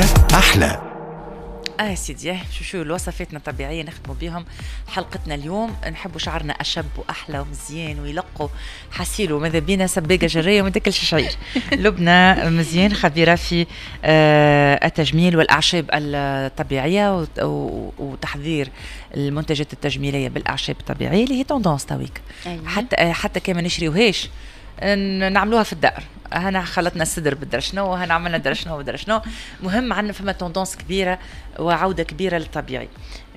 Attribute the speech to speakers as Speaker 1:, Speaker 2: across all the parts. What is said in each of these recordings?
Speaker 1: هكا احلى.
Speaker 2: سيدي، شو شو الوصفاتنا الطبيعية نخدموا بهم حلقتنا اليوم. نحبوا شعرنا اشب واحلى ومزيان ويلقوا حسيلو، ماذا بينا سباقه جريه وما تاكلش شعير. لبنى مزيان خبيرة في التجميل والاعشاب الطبيعية وتحضير المنتجات التجميلية بالاعشاب الطبيعية اللي هي tendance تويك. حتى كان ما نشريوهاش نعملوها في الدار. هنا خلطنا السدر بالدرا شنو، هنا عملنا درا شنو بدرا شنو. مهم عندنا فما tendance كبيرة وعوده كبيرة للطبيعي.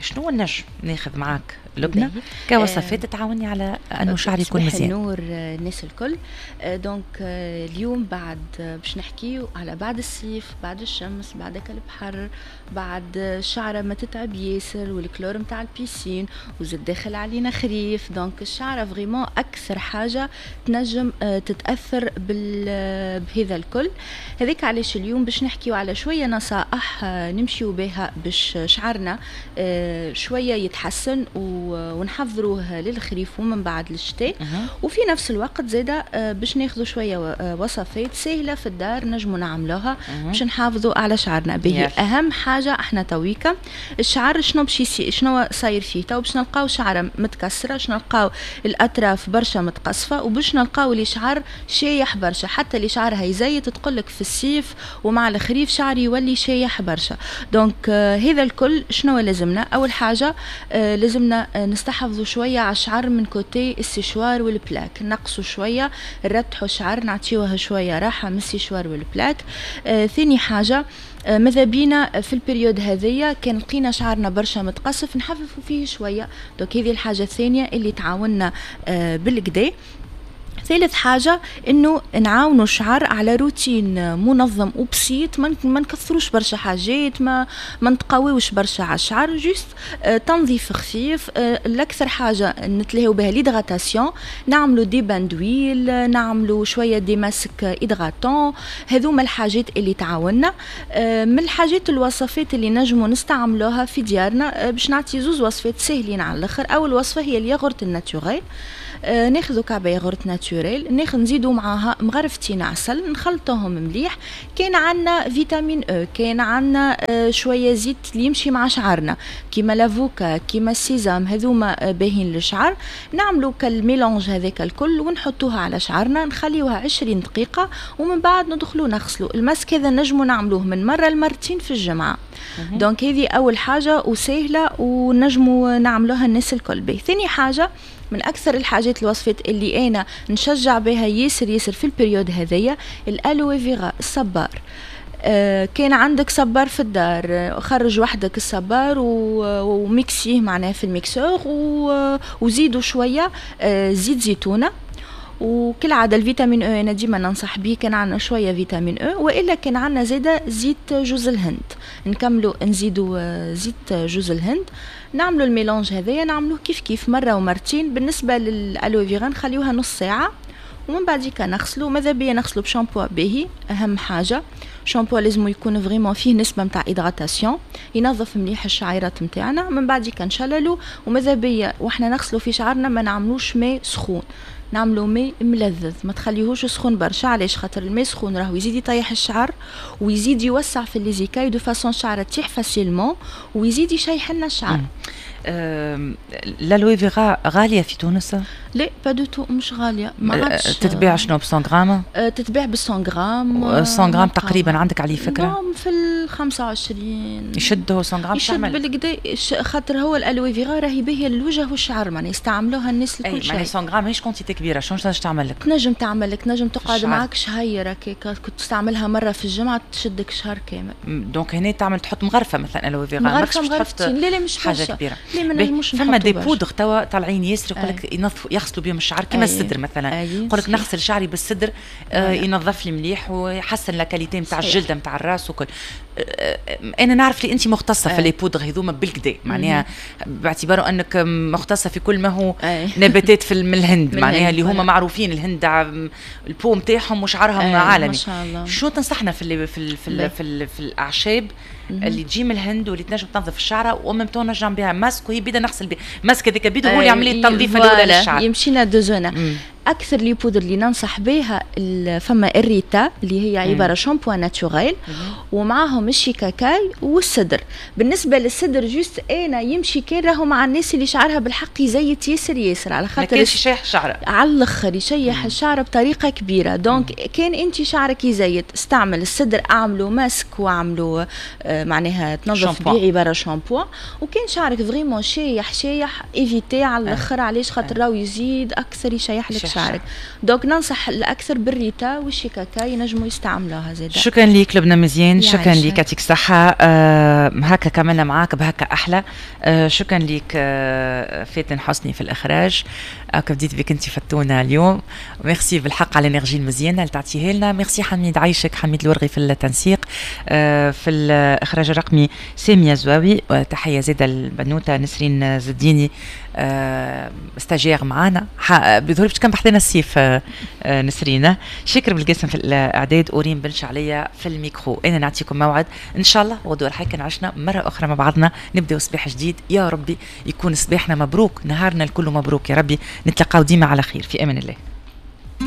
Speaker 2: شنو النجم ناخذ معاك لبنى كوصفات تعاوني على انه شعري يكون مزيان؟
Speaker 3: النور الناس الكل. donc اليوم بعد باش نحكيو على بعد الصيف، بعد الشمس، بعد البحر، بعد الشعرة ما تتعب ياسر والكلور نتاع ال piscine، وزاد داخل علينا خريف. donc الشعرة vraiment اكثر حاجة تنجم تتاثر بهذا الكل. هذيك علاش اليوم باش نحكيو على شوية نصائح نمشيو بها باش شعرنا شوية يتحسن ونحضروه للخريف ومن بعد للشتاء. وفي نفس الوقت زاده باش ناخذوا شوية وصفات سهلة في الدار نجموا نعملوها باش نحافظوا على شعرنا به. اهم حاجة احنا تويكا الشعر شنو باش شنو صاير فيه تو؟ باش نلقاو شعره متكسره، باش نلقاو الاطراف برشا متقصفه، وباش نلقاو اللي شعر شايح برشا. حتى اللي شعرها يزيت تقول لك في الصيف ومع الخريف شعري يولي شايح برشا. donc هذا الكل شنو لازمنا؟ اول حاجة لازمنا نستحفظوا شوية على الشعر من côté ال séchoir وال plaque، نقصوا شويه، نرتحوا الشعر، نعطيوه شوية راحة من ال séchoir وال plaque. ثاني حاجة ماذا بينا في ال période هذيا كان لقينا شعرنا برشا متقصف نحففوا فيه شويه. donc هذه الحاجة الثانية اللي تعاوننا بالقدا. ثالث حاجة انه نعاونوا الشعر على روتين منظم وبسيط، ما نكثروش برشا حاجات، ما نتقويوش برشا على الشعر، juste تنظيف خفيف. الاكثر حاجة نتلهيو بها l'hydratation، نعملوا des bains d'huile، نعملوا شوية des masques hydratants. هذوما الحاجات اللي تعاوننا. من الحاجات الوصفات اللي نجموا نستعملوها في ديارنا، باش نعطي زوز وصفات ساهلين على الاخر. اول وصفة هي ال yaourt ال naturel. ناخذ كعبه yaourt naturel، ناخذ نزيدو معاها مغرفتين عسل، نخلطوهم مليح. كان عندنا vitamine E، كان عندنا شوية زيت اللي يمشي مع شعرنا كيما l'avocat كيما ال sésame، هذوما باهين للشعر. نعملو كال mélange هذاك الكل ونحطوها على شعرنا، نخليوها 20 دقيقة ومن بعد ندخلو نغسلو. الماسك هذا نجمو نعملوه من مرة لمرتين في الجمعه. donc هذه اول حاجة وسهلة ونجمو نعملوها الناس الكل. به ثاني حاجه، من اكثر الحاجات الوصفات اللي انا نشجع بها ياسر ياسر في ال période هذيا ال aloe vera، الصبار. كان عندك صبار في الدار، خرج وحدك الصبار وميكسيه معناه في ال mixeur وزيدوا شوية زيت زيتونه. وكالعادة ال vitamine E انا ديما ننصح به، كان عندنا شوية vitamine E، والا كان عندنا زاده زيت جوز الهند، نكملوا نزيدوا زيت جوز الهند. نعملوا ال mélange هذايا، نعملوه كيف كيف مرة ومرتين. بالنسبة لل aloe vera نخليوها نص ساعة ومن بعد نغسلو. ماذا بيا نغسلو بشامبو باهي، اهم حاجة شامبو لازم يكون vraiment فيه نسبه نتاع hydratation، ينظف مليح الشعيرات نتاعنا. من بعد نشللو، وماذا بيا واحنا نغسلو في شعرنا ما نعملوش ماء سخون، نعملو ماء ملذذ، ما تخليهوش سخون برشا. علاش؟ خاطر الماء سخون راهو يزيد يطيح الشعر ويزيد يوسع في les écailles de façon الشعر تطيح facilement ويزيد يشيح لنا الشعر.
Speaker 2: l'aloe vera غالية في تونس؟
Speaker 3: لا، pas du tout، مش غاليه. ما عادش.
Speaker 2: تتباع شنو، ب 100 غرام؟
Speaker 3: تتباع ب 100 غرام.
Speaker 2: 100 غرام تقريبا عندك عليه فكرة؟
Speaker 3: في ال 25.
Speaker 2: يشد هو 100 غرام؟
Speaker 3: يشد بالقدا، خاطر هو ال aloe vera راهي باهيه للوجه والشعر، معناها يستعملوها الناس الكل.
Speaker 2: شيء 100 غرام ماهيش quantité كبيره، شنو تنجم تعمل لك؟
Speaker 3: تنجم تعمل لك، تنجم تقعد معك شهيرة هكاك، كنت تستعملها مرة في الجمعة تشدك شهر كامل.
Speaker 2: donc هنا تعمل تحط مغرفه مثلا aloe vera؟
Speaker 3: مغرفه مغرفتين، لا لا مش
Speaker 2: حاجة كبيره.
Speaker 3: لا، ما نجموش.
Speaker 2: فما des poudres توا طالعين ياسر، يقول لك ينظفوا يغسلوا بهم الشعر كيما السدر مثلا. يقول لك نغسل شعري بالسدر ينظف لي مليح ويحسن la qualité نتاع الجلدة نتاع الراس وكل. انا نعرف لي انت مختصة في les poudres هذوما بالقدا، معناها باعتباره انك مختصة في كل ما هو نباتات في من الهند، معناها اللي هما معروفين الهند ال peau نتاعهم وشعرهم عالمي.
Speaker 3: ما شاء الله.
Speaker 2: شو تنصحنا في الاعشاب اللي تجي من الهند واللي تنجم تنظف الشعرة و même temps نجم بها ماسك، وهي بيدا نغسل بها ماسك هذاك بيدا هو اللي يعمل لي التنظيف الاولى للشعر؟
Speaker 3: يمشينا deux en un. اكثر les poudres اللي ننصح بها فما الريتا اللي هي عبارة shampoing naturel، ومعاهم الشيكاكاي والسدر. بالنسبة للسدر juste انا يمشي كان راهو مع الناس اللي شعرها بالحق يزيت ياسر ياسر، على خاطر
Speaker 2: يشيح الشعر.
Speaker 3: على الاخر يشيح الشعر بطريقة كبيره. donc كان انت شعرك يزيت استعمل السدر، اعملوا ماسك واعملوا معناها تنظف بيه عبارة شامبو. وكان شعرك vraiment شايح شايح évitez على الاخر. علاش؟ خاطر راهو يزيد اكثر يشيح لك شعرك. donc ننصح الاكثر بالريتا والشيكاكا، ينجموا يستعملوها زاد.
Speaker 2: شكرا ليك لبنى مزيان، شكرا ليك، يعطيك الصحة. هكا كملنا معاك بهكا أحلى. شكرا ليك فاتن حسني في الإخراج. هكا بديت بك انت فتونا اليوم، ميرسي بالحق على ال énergie المزيانه اللي تعطيها لنا. ميرسي حميد، عايشك حميد الورغي في التنسيق، في الاخراج الرقمي سامية زواوي. تحية زاده البنوته نسرين زديني stagiaire معانا، بظهر باش كان بحذنا الصيف نسرين. شكر بالقاسم في الاعداد وريم بن شعليه في الميكرو. انا نعطيكم موعد ان شاء الله غدوه الحي عشنا مرة اخرى مع بعضنا، نبداو صباح جديد. يا ربي يكون صباحنا مبروك، نهارنا الكل مبروك يا ربي. نتلقاو ديما على خير، في امان الله.